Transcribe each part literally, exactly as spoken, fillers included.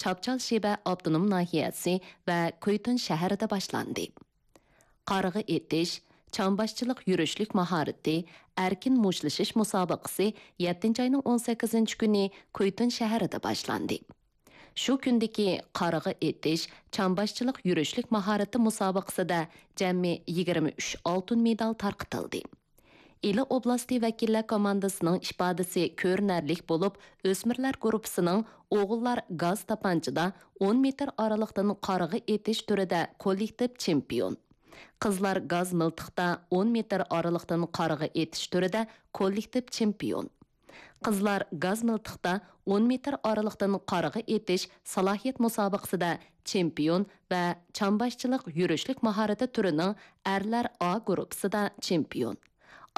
چاپچال شىبە ئاپتونوم ناھىيەسى ۋە كۇيتۇن شەھىرىدە باشلاندى. قارىغا ئېتىش، چامباشچىلىق يۈرۈشلۈك ماھارىتى، ئەركىن مۇشتلىشىش مۇسابىقىسى يەتتىنچى ئاينىڭ ئون سەككىزىنچى كۈنى كۇيتۇن شەھىرىدە باشلاندى. شۇ كۈندىكى قارىغا ئېتىش، چامباشچىلىق يۈرۈشلۈك ماھارىتى مۇسابىقىسىدە جەمئىي يىگىرمە ئۈچ ئالتۇن مېدال تارقىتىلدى. ئىلى ئوبلاستى ۋەكىللەر كوماندىسىنىڭ ئىپادىسى كۆرۈنەرلىك بولۇپ، ئۆسمۈرلەر گۇرۇپپىسىنىڭ ئوغۇللار گاز تاپانچىدا ئون مېتىر ئارىلىقتىن قارىغا ئېتىش تۈرىدە كوللېكتىپ چېمپىيون، قىزلار گاز مىلتىقتا ئون مېتىر ئارىلىقتىن قارىغا ئېتىش تۈرىدە كوللېكتىپ چېمپىيون، قىزلار گاز مىلتىقتا ئون مېتىر ئارىلىقتىن قارىغا ئېتىش سالاھىيەت مۇسابىقىسىدە چېمپىيون ۋە چامباشچىلىق يۈرۈشلۈك ماھارىتى تۈرىنىڭ ئەرلەر ئا گۇرۇپپىسىدا چېمپىيون،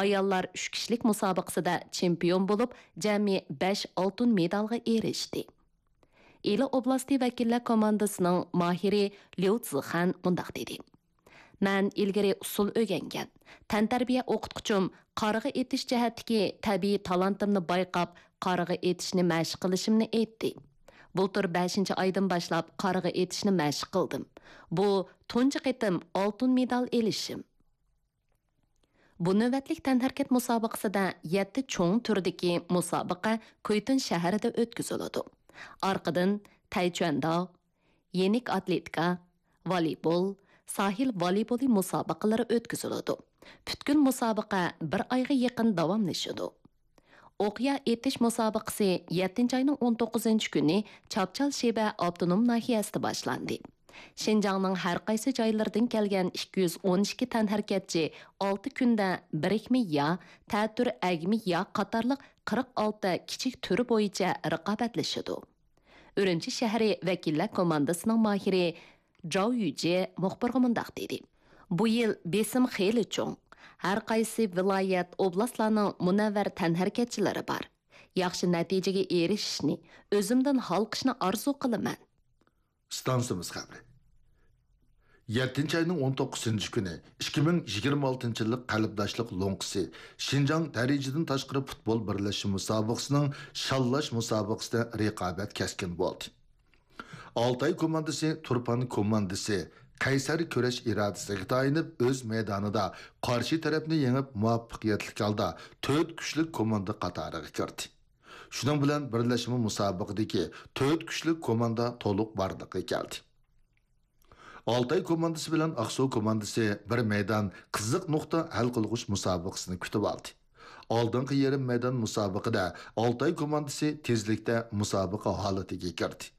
ئاياللار ئۈچ كىشىلىك مۇسابىقىسىدە چېمپىيون بولۇپ، جەمئىي بەش ئالتۇن مېدالغا ئېرىشتى. ئىلى ئوبلاستى ۋەكىللەر كوماندىسىنىڭ ماھىرى ليۇ زىخەن مۇنداق دېدى: مەن ئىلگىرى ئۇسسۇل ئۆگەنگەن. تەنتەربىيە ئوقۇتقۇچۇم قارىغا ئېتىش جەھەتتىكى تەبىئىي تالانتىمنى بايقاپ، قارىغا ئېتىشنى مەشىق قىلىشىمنى ئېيتتى. بۇلتۇر بەشىنچى ئايدىن باشلاپ قارىغا ئېتىشنى مەشىق قىلدىم. بۇ تۇنجى قېتىم ئالتۇن مېدال ئېلىشىم. بۇ نۆۋەتلىك تەنھەرىكەت مۇسابىقىسىدە يەتتە چوڭ تۈردىكى مۇسابىقە كۇيتۇن شەھىرىدە ئۆتكۈزۈلىدۇ. ئارقىدىن تەيچۈەنداۋ، يېنىك ئاتلېتىكا، ۋالىبول، ساھىل ۋالىبولى مۇسابىقىلىرى ئۆتكۈزۈلىدۇ. پۈتكۈل مۇسابىقە بىر ئايغا يېقىن داۋاملىشىدۇ. ئوقيا ئېتىش مۇسابىقىسى يەتتىنچى ئاينىڭ ئون توققۇزىنچى كۈنى چاپچال شىبە ئاپتونوم ناھىيەسىدە باشلاندى. شىنجاڭنىڭ ھەر قايسى جايلىرىدىن كەلگەن ئىككى يۈز ئون ئىككى تەنھەرىكەتچى ئالتە كۈندە بىرىكمە يا، تەتۈر ئەگمە يا قاتارلىق قىرىق ئالتە كىچىك تۈر بويىچە رىقابەتلىشىدۇ. ئۈرۈمچى شەھىرى ۋەكىللەر كوماندىسىنىڭ ماھىرى جاۋ يۈجې مۇخبىرغا مۇنداق دېدى: بۇ يىل بېسىم خېلى چوڭ. ھەر قايسى ۋىلايەت، ئوبلاستلارنىڭ مۇنەۋۋەر تەنھەرىكەتچىلىرى بار. ياخشى نەتىجىگە ئېرىشىشنى، ئۆزۈمدىن ھالقىشنى ئارزۇ قىلىمەن. ئىستانسىمىز خەۋىرى. يەتتىنچى ئاينىڭ ئون توققۇزىنچى كۈنى ئىككى مىڭ يىگىرمە ئالتىنچى يىللىق قەلبداشلىق لوڭقىسى شىنجاڭ دەرىجىدىن تاشقىرى پۇتبول بىرلەشمە مۇسابىقىسىنىڭ شاللاش مۇسابىقىسىدە رىقابەت كەسكىن بولدى. ئالتاي كوماندىسى تۇرپان كوماندىسى قەيسەر كۈرەش ئىرادىسىگە تايىنىپ، ئۆز مەيدانىدا قارشى تەرەپنى يېڭىپ، مۇۋەپپەقىيەتلىك ھالدا تۆت كۈچلۈك كوماندا قاتارىغا كىردى. شۇنىڭ بىلەن بىرلەشمە مۇسابىقىدىكى تۆت كۈچلۈك كوماندا تولۇق بارلىققا كەلدى. ئالتاي كوماندىسى بىلەن ئاقسۇ كوماندىسى بىر مەيدان قىزىق نۇقتا ھەل قىلغۇچ مۇسابىقىسىنى كۈتۈۋالدى. ئالدىنقى يېرىم مەيدان مۇسابىقىدە ئالتاي كوماندىسى تېزلىكتە مۇسابىقە ھالىتىگە كىردى.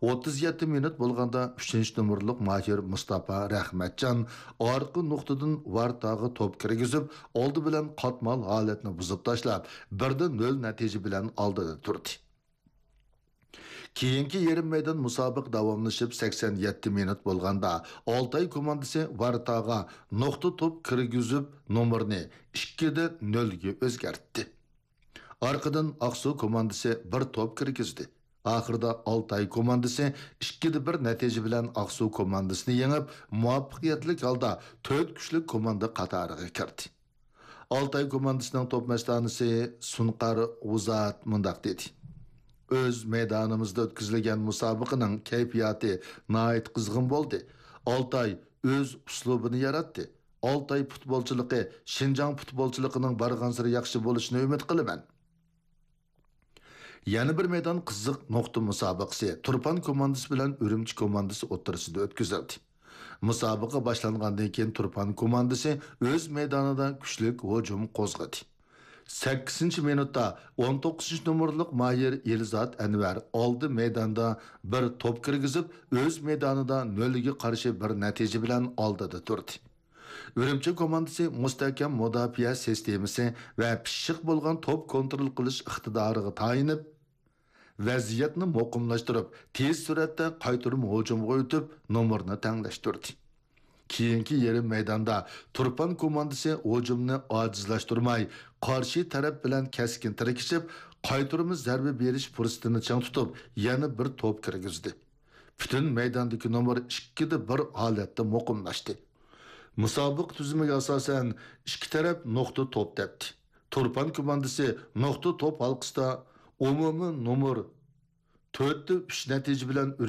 ئوتتۇز يەتتە مىنۇت بولغاندا ئۈچىنچى نومۇرلۇق ماھىر مۇستاپا رەھمەتجان ئارقا نۇقتىدىن ۋارتاغا توپ كىرگۈزۈپ، ئالدى بىلەن قاتمال ھالەتنى بۇزۇپ تاشلاپ، بىر دە نۆل نەتىجە بىلەن ئالدىدا تۇردى. كېيىنكى يېرىم مەيدان مۇسابىقە داۋاملىشىپ، سەكسەن يەتتە مىنۇت بولغاندا، ئالتاي كوماندىسى ۋارتاغا نۇقتا توپ كىرگۈزۈپ، نومۇرنى ئىككى دە نۆلگە ئۆزگەرتتى. ئارقىدىن ئاقسۇ كوماندىسى بىر توپ كىرگۈزدى. ئاخىرىدا ئالتاي كوماندىسى ئىككى دە بىر نەتىجە بىلەن ئاقسۇ كوماندىسىنى يېڭىپ، مۇۋەپپەقىيەتلىك ھالدا تۆت كۈچلۈك كوماندا قاتارىغا كىردى. ئالتاي كوماندىسىنىڭ توپ مەستانىسى سۇنقار غۇزات مۇنداق دېدى: ئۆز مەيدانىمىزدا ئۆتكۈزۈلگەن مۇسابىقىنىڭ كەيپىياتى ناھايىتى قىزغىن بولدى. ئالتاي ئۆز ئۇسلۇبىنى ياراتتى. ئالتاي پۇتبولچىلىقى شىنجاڭ پۇتبولچىلىقىنىڭ بارغانسېرى ياخشى بولۇشىنى ئۈمىد قىلىمەن. يەنە بىر مەيدان قىزىق نۇقتا مۇسابىقىسى تۇرپان كوماندىسى بىلەن ئۈرۈمچى كوماندىسى ئوتتۇرىسىدا ئۆتكۈزۈلدى. مۇسابىقە باشلانغاندىن كېيىن تۇرپان كوماندىسى ئۆز مەيدانىدا كۈچلۈك ھۇجۇم قوزغىدى. سەككىزىنچى مىنۇتتا ئون توققۇزىنچى نومۇرلۇق ماھىر ئېلزات ئەنۋەر ئالدى مەيداندا بىر توپ كىرگۈزۈپ، ئۆز مەيدانىدا نۆلگە قارشى بىر نەتىجە بىلەن ئالدىدا تۇردى. ئۈرۈمچى كوماندىسى مۇستەھكەم مۇداپىئە سىستېمىسى ۋە پىششىق بولغان توپ كونترول قىلىش ئىقتىدارىغا تايىنىپ، ۋەزىيەتنى مۇقىملاشتۇرۇپ، تېز سۈرئەتتە قايتۇرما ھۇجۇمغا ئۆتۈپ، نومۇرنى تەڭلەشتۈردى. كېيىنكى يېرىم مەيداندا تۇرپان كوماندىسى ھۇجۇمنى ئاجىزلاشتۇرماي، قارشى تەرەپ بىلەن كەسكىن تىركىشىپ، قايتۇرما زەربە بېرىش پۇرسىتىنى چىڭ تۇتۇپ، يەنە بىر توپ كىرگۈزدى. پۈتۈن مەيداندىكى نومۇر ئىككىدە بىر ھالەتتە مۇقىملاشتى. مۇسابىقە تۈزۈمىگە ئاساسەن، ئىككى تەرەپ نۇقتا توپ تەپتى. تۇرپان كوماندىسى نۇقتا توپ ھالقىسىدا ئومۇمىي نومۇر تۆتتە ئۈچ نەتىجە بىلەن ئۈرۈمچى